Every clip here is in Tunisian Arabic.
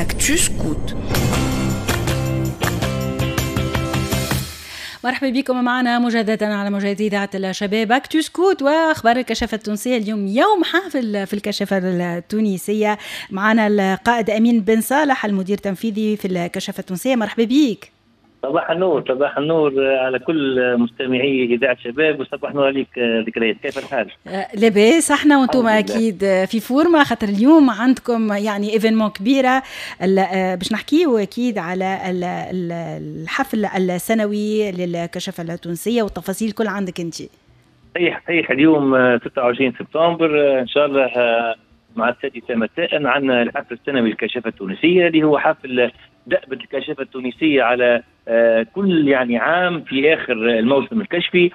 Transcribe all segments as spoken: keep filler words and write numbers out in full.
Actu Scout. مرحبا بكم معنا مجددا على موجات إذاعة الشباب Actu Scout واخبار الكشافة التونسية. اليوم يوم حافل في الكشافة التونسية، معنا القائد أمين بن صالح المدير التنفيذي في الكشافة التونسية. مرحبا بك. صباح النور، صباح النور على كل مستمعي إذاعة شباب، وصباح النور عليك ذكريات. كيف الحال؟ لاباس احنا وانتم اكيد في forme، خاطر اليوم عندكم يعني événement كبيرة باش نحكيو اكيد على الحفل السنوي للكشافة التونسية والتفاصيل كل عندك انت. صحيح صحيح، اليوم ستة وعشرين سبتمبر ان شاء الله مع السادسة مساء عندنا الحفل السنوي للكشافة التونسية، اللي هو حفل دأبة الكشافة التونسية على كل يعني عام في آخر الموسم الكشفي.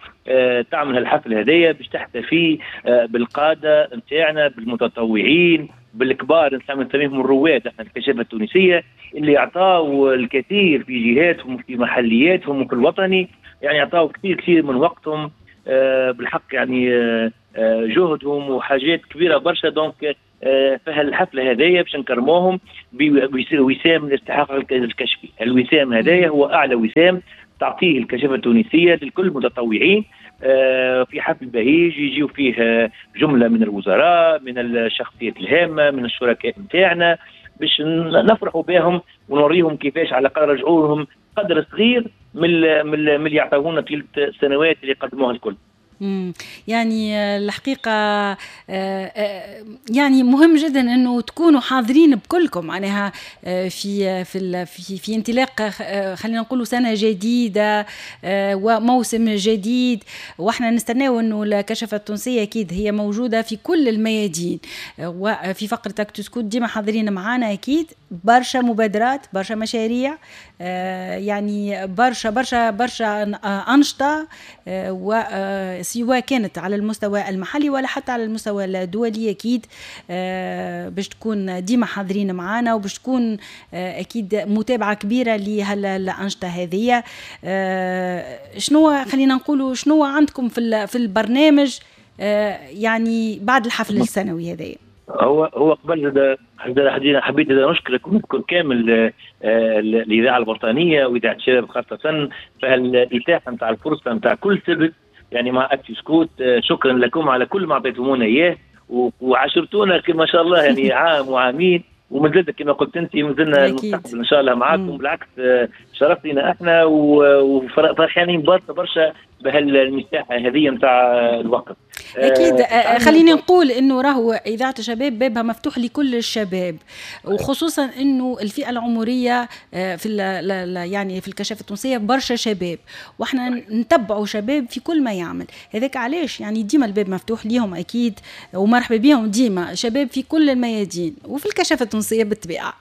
تعمل الحفل هذايا باش تحتفي بالقادة نتاعنا، بالمتطوعين، بالكبار نسميهم الرواد احنا الكشافة التونسية، اللي اعطاوا الكثير في جهاتهم وفي محلياتهم وفي الوطني، يعني اعطاوا كثير كثير من وقتهم بالحق، يعني جهدهم وحاجات كبيرة برشا. donc فهالحفله هذايا باش نكرموهم بوسام الاستحقاق الكشفي. الوسام هذايا هو اعلى وسام تعطيه الكشافه التونسية لكل المتطوعين، في حفل بهيج يجيو فيه جملة من الوزراء، من الشخصيات الهامة، من الشركاء نتاعنا، باش نفرحوا بهم ونوريهم كيفاش على الاقل رجعوا لهم قدر صغير من من اللي يعطونا طيلة السنوات اللي قدموها الكل. مم. يعني الحقيقة يعني مهم جدا أنه تكونوا حاضرين بكلكم معناها في في في, في انطلاق خلينا نقولوا سنة جديدة وموسم جديد، واحنا نستناو أنه الكشافة التونسية أكيد هي موجودة في كل الميادين، وفي فقرة Actu Scout ديما حاضرين معانا أكيد برشا مبادرات، برشا مشاريع، يعني برشا برشا برشا أنشطة، و سواء كانت على المستوى المحلي ولا حتى على المستوى الدولي. أكيد باش تكون ديما حاضرين معانا وباش تكون أكيد متابعة كبيرة لهالأنشطة هذه. شنو خلينا نقولوا شنو عندكم في في البرنامج يعني بعد الحفل السنوي هذا؟ هو هو قبل حبيت نشكرك ونشكر كامل الإذاعة الوطنية وإذاعة الشباب خاصة فهالإتاحة نتاع الفرصة نتاع كل سبت يعني مع Actu Scout. شكرا لكم على كل ما اعطيتمونا اياه وعاشرتونا ما شاء الله يعني عام وعامين، ومازلنا كما قلت انت مازلنا المستقبل ان شاء الله معاكم. بالعكس شرف لنا احنا وفرحانين برشا برشا بهالمساحه هذه نتاع الوقت. اكيد آه خليني نقول انه راهو اذاعة الشباب بابها مفتوح لكل الشباب، وخصوصا انه الفئة العمرية في يعني في الكشافه التونسية برشا شباب، واحنا نتبعوا شباب في كل ما يعمل. هذاك علاش يعني ديما الباب مفتوح ليهم اكيد، ومرحبا بهم ديما شباب في كل الميادين وفي الكشافه التونسية بالطبيعة.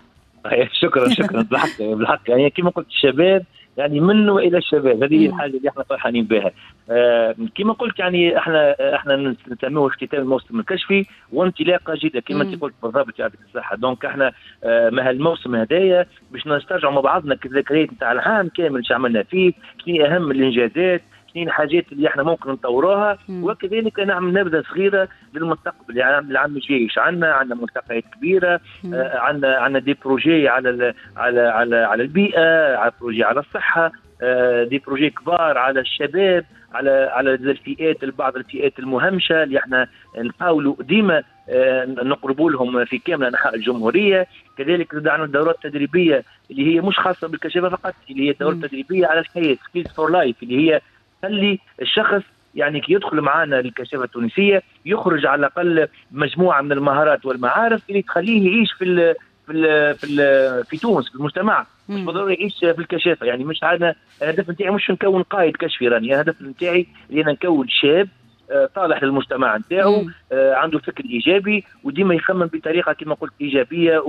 شكرا شكرا بالحق بالحق يعني كما قلت الشباب يعني من والى الشباب، هذه هي الحاجة اللي احنا فرحانين بها. آه كما قلت يعني احنا احنا نسميه اختتام الموسم الكشفي وانطلاقه جديدة كما انت قلت بالضبط، يعطيك الصحة. donc احنا آه مع الموسم هذايا باش نسترجعوا مع بعضنا الذكريات نتاع العام كامل، شو عملنا فيه، شنو اهم الانجازات، شنو الحاجات اللي احنا ممكن نطوروها، وكذلك نعمل نبذه صغيرة للمستقبل. يعني العام الجاي عندنا عندنا ملتقيات كبيرة، آه عندنا عندنا des projets على على على على البيئة، على projets على الصحة، آه des projets كبار على الشباب، على على الفئات، بعض الفئات المهمشه اللي احنا نحاولوا ديما آه نقربوا لهم في كامل انحاء الجمهورية. كذلك عندنا الدورات التدريبية اللي هي مش خاصة بالكشافه فقط، اللي هي الدورات التدريبية على الحياة، skills for life، اللي هي خلي الشخص يعني كي يدخل معنا للكشافه التونسية يخرج على الاقل مجموعة من المهارات والمعارف اللي تخليه يعيش في ال في ال في ال في تونس في المجتمع، مش بالضروري يعيش في الكشافه. يعني مش عندنا الهدف نتاعي مش نكون قائد كشفي، راني الهدف نتاعي اللي انا نكون شاب طالح للمجتمع نتاعو، عنده فكر ايجابي وديما يخمم بطريقة كما قلت ايجابية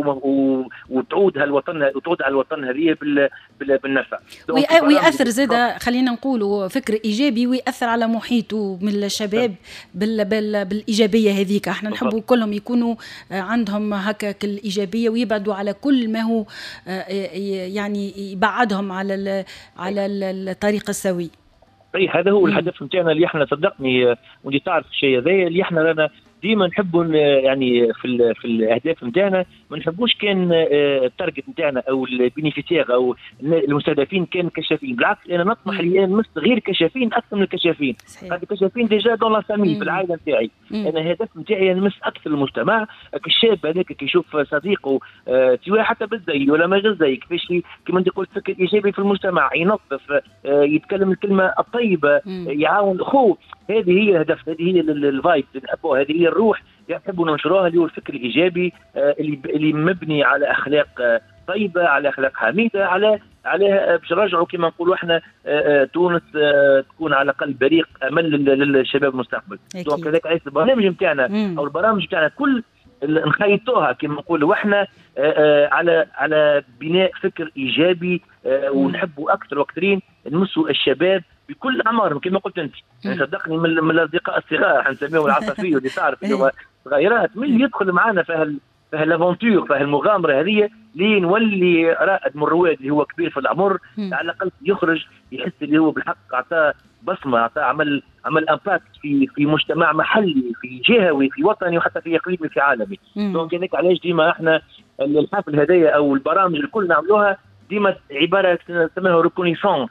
وتعود هالوطن وتعود على الوطن هذه بالنفع. ويأثر زاد خلينا نقولوا فكر ايجابي ويأثر على محيطه من الشباب بال بال بالايجابية هذيك. احنا نحبوا كلهم يكونوا عندهم هكا الايجابية ويبعدوا على كل ما هو يعني يبعدهم على على الطريق السوي. صحيح، هذا هو الهدف نتاعنا اللي احنا صدقني وانت تعرف الشيء هذايا اللي احنا رانا ديما نحبوا يعني في ال في الاهداف نتاعنا ما نحبوش كان ال target نتاعنا او ال bénéficiaires او المستهدفين كان كشافين. بالعكس، انا نطمح اللي نمس غير كشافين اكثر من الكشافين. خاطر الكشافين déjà dans la famille، في العائلة نتاعي. انا الهدف نتاعي نمس اكثر المجتمع. الشاب هذاك كي يشوف صديقه آه، سواء حتى بالزي ولا ما غير زي، كيفاش كما انت قلت فكر ايجابي في المجتمع، ينظف، آه، يتكلم الكلمة الطيبه، يعاون اخوه. هذه هي الهدف، هذه هي ال vibe اللي نحبوها، هذه هي الروح اللي نحبوا ننشروها، اللي هو الفكر الايجابي آه، اللي اللي مبني على اخلاق آه، طيبه، على اخلاق حميده، على على باش نرجعوا كما نقولوا احنا آه، تونس تكون على الاقل بريق امل للشباب المستقبل. donc هذاك علاش البرنامج نتاعنا او البرامج نتاعنا كل نخيطوها كما نقولوا احنا على على بناء فكر ايجابي، ونحبوا اكثر واكثرين نمسوا الشباب بكل اعمارهم كما قلت انت. يعني صدقني من, من الاصدقاء الصغار، حنسميهم العصافير اللي تعرف اللي هو صغيرات، من اللي يدخل معنا في هال في هال aventure، في هالمغامره هذه، لين نولي رائد من الرواد اللي هو كبير في العمر. على الاقل يخرج يحس اللي هو بالحق اعطاه بصمه، اعطاه عمل عمل impact في في مجتمع محلي، في جهوي، في وطني، وحتى في اقليمي، في عالمي. donc هذاك علاش ديما احنا الحفل هذايا او البرامج الكل نعملوها ديما عبارة نسميها reconnaissance.